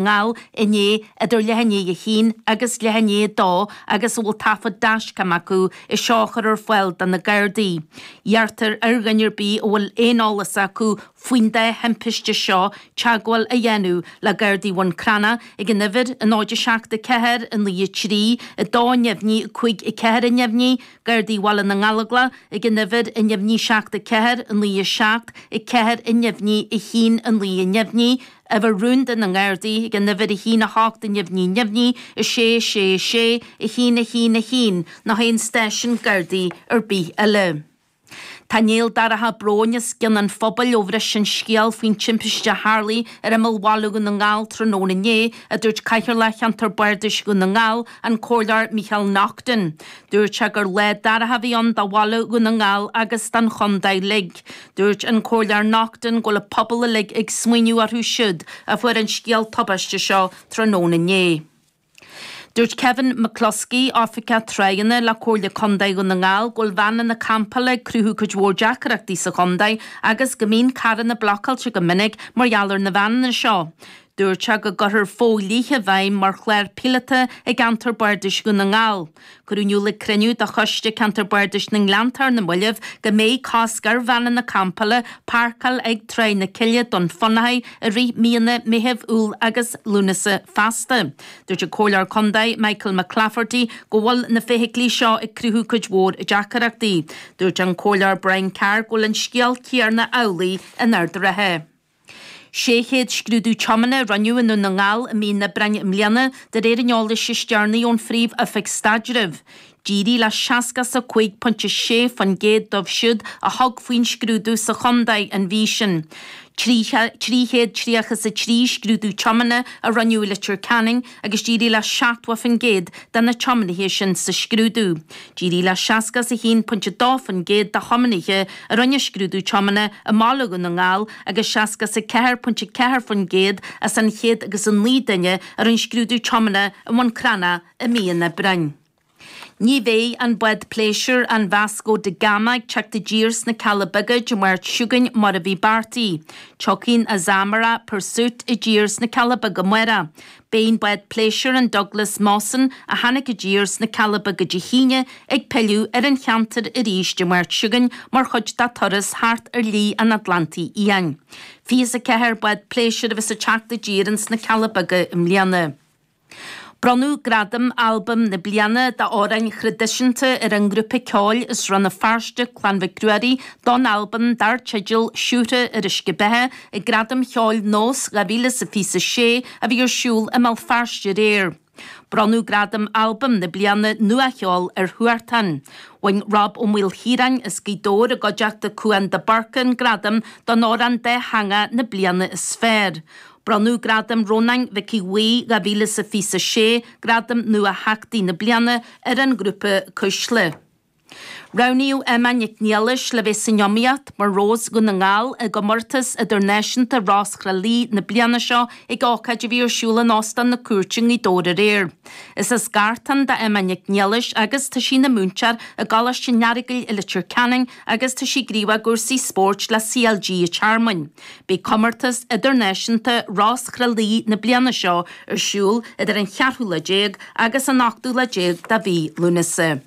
nGall inné idir leath i ndiaidh a haon agus leath i ndiaidh a dó agus a bhfuil taifead dashcam acu é seo a chur ar fáil do na Gardaí. Iarrtar ar dhuine ar bith a bhfuil aon eolas acu faoin dá thimpiste seo teagmháil a dhéanamh le Gardaí Bhun Cranncha ag an uimhir 0 7 4 9 3 2 neamhní 5 4 neamhní, Gardaí Bhaile na nGallóglach ag an uimhir neamhní 7 4 9 7 4 neamhní 1 9 neamhní, Uimhir rúnda na nGardaí ag an uimhir 1 8 neamhní neamhní 6 6 6 1 1 1 nó aon stáisiún Gardaí ar bith eile. Tá néal dorcha bróin os cionn an phobail ó bhris an scéal faoin timpiste a tharlaigh ar imeall bhaile Dhún na nGall tráthnóna inné, a dúirt Cathaoirleach Cheantar Bardais Dhún na nGall, an Comhairleoir Micheál Naughton. Dúirt sé gur lá dorcha a bhí ann do bhaile Dhún na nGall agus don chontae uilig. Dúirt an Comhairleoir Naughton go bhfuil an pobal uilig ag smaoineamh orthu siúd a fuair an scéal tubaiste seo tráthnóna inné. Dúirt Kevin McCluskey, Oifigeach Tráigheanna le Comhairle Contae Dhún na nGall go bhfuil veaineanna campála ag cruthú cuid mhór deacrachtaí sa chontae agus go mbíonn carranna blocáilte go minic mar gheall ar na veaineanna seo. Dúirt sé go gcuirfear fo-dhlíthe i bhfeidhm mar chlár píolóta i gceantar Bardais Dhún na nGall. Cuireadh in iúl ag cruinniú de Choiste Ceantar Bardais na nGleanntach ar na mallaibh go mbeidh cosc ar veaineanna campála páirceáil ag Tráigh na Cille, Dún Fionnachaidh i rith míonna Meitheamh, Iúil agus Lúnasa feasta. Dúirt an Comhairleoir Contae Michael McClafferty go bhfuil na feithiclí seo ag cruthú cuid mhór deacaireachtaí. Dúirt an Comhairleoir Brian Carr go bhfuil an scéal céarna amhlaidh in Ard an Rátha. 600 scrúdú tiomána a rinneadh i nDún na nGall i mí an Aibreáin i mbliana, de réir an eolais is deireanaí ón Phríomh-Oifig Staidrimh. D'éirigh le 65.6% dóibh siúd a thug faoin scrúdú sa chontae an mhí sin. 333 scrúdú tiomána a rinneadh i Leitir Ceanainn agus d'éirigh le 70% de na tiománaithe sin sa scrúdú. D'éirigh le 61.2% de thiománaithe a rinne scrúdú tiomána i mbaile Dhún na nGall agus 64.4% as an 109 duine a rinne scrúdú tiomána i mBun Cranncha i mí an Aibreáin. Ní bheidh an bád pléisiúir an Vasco da Gama ag teacht i dtír sna Cealla Beaga Dé Máirt seo chugainn mar a bhí beartaithe. Tiocfaidh an Azamara Pursuit i dtír sna Cealla Beaga amárach. Beidh an bád pléisiúir an Douglas Mawson a tháinig i dtír sna Cealla Beaga Dé hAoine ag pilleadh ar an cheantar arís Dé Máirt seo chugainn mar chuid dá turas thart ar Shlí an Atlantaigh Fhiáin. 24 bád pléisiúir a bheas ag teacht i dtír ins na Cealla Beaga i mbliana. Bronnadh gradam Albam na Bliana d'Amhráin Thraidisiúnta ar an ngrúpa ceoil as Rann na Feirste, Clann Mhic Ruairí, don albam dar teideal Siúcra ar Uisce Beatha ag Gradaim Cheoil Nós 2026 a bhí ar siúl i mBéal Feirste aréir. Bronnadh gradam Albam na Bliana Nuacheoil ar Huartan. Bhain Rob Ó Maoilchiaráin as Gaoth Dobhair i gcuideachta Cúán de Búrca an gradam don Amhrán Dátheangach na Bliana is Fearr. Bronnadh Gradam Rónáin Mhic Aodha Bhuí 2026, Gradam Nua-Theachtaí na Bliana, ar an ngrúpa Cuisle. Roghnaíodh Emma Nic Niallais le bheith san iomaíocht mar Rós Dhún na nGall i gcomórtas idirnáisiúnta Rós Thrá Lí na bliana seo ag ócáid a bhí ar siúl in Óstán na Cúirte i nGaoth Dobhair aréir. Is as Gartán do Emma Nic Niallais agus tá sí ina múinteoir i gColáiste an Earagail i Leitir Ceanainn agus tá sí gníomhach i gcúrsaí spóirt le CLG an Tearmainn. Beidh comórtas idirnáisiúnta Rós Thrá Lí na bliana seo ar siúl idir an cheathrú lá déag agus an ochtú lá déag de mhí Lúnasa.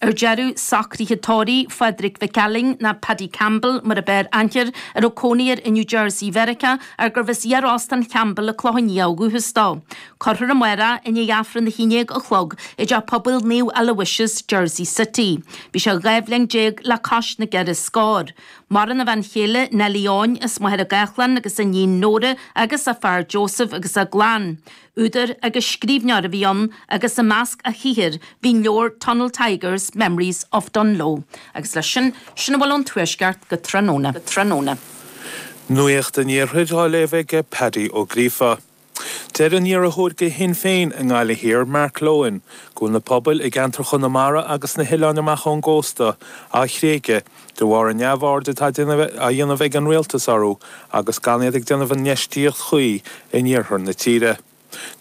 Ar deireadh, socruithe tórraimh Phádraig Mhic Ailín, nó Paddy Campbell mar ab fhearr aithne air, a raibh cónaí air i New Jersey Mheiriceá, ach gurbh as iar-óstán Champbell i Clochán Liath ó dhúchas dó. Cuirfear amárach i ndiaidh Aifreann 11 a chlog i dTeach Pobail Naomh Aloysius, Jersey City. Bhí sé 12 bhliain le cois na gceithre scór. Maireann a bhean chéile, Nellie Eoin, as Machaire Gathlán agus a iníon Nóra agus a fear Joseph agus a gclann. Údar agus scríbhneoir a bhí ann agus i measc a shaothair bhí an leabhar Tunnel Tigers, Memories of Dungloe. Agus leis sin, sin a bhfuil ón Tuaisceart go tráthnóna. Tráthnóna. Nuacht an Iarthair á léamh ag Paddy Ó Gríofa. Deir an iarrthóir do Shinn Féin i nGaillimh Thiar, Mark Lohan, go bhfuil na pobail i gceantar Chonamara agus sna hoileáin amach ón gcósta á thréigeadh de bharr an neamhaird atá á dhéanamh ag an rialtas orthu agus gan iad ag déanamh an infheistíocht chuí in iarthar na tíre.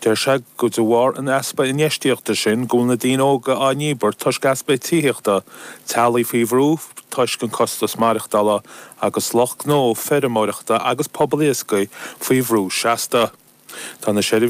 Deir sé go de bharr an easpa infheistíochta sin go bhfuil na daoine óga á ndíbirt toisc easpa tithíochta, teaghlaigh faoi bhrú toisc an costas maireachtála agus lucht gnó feirmeoireachta agus pobal iascaigh faoi bhrú seasta. Tá na.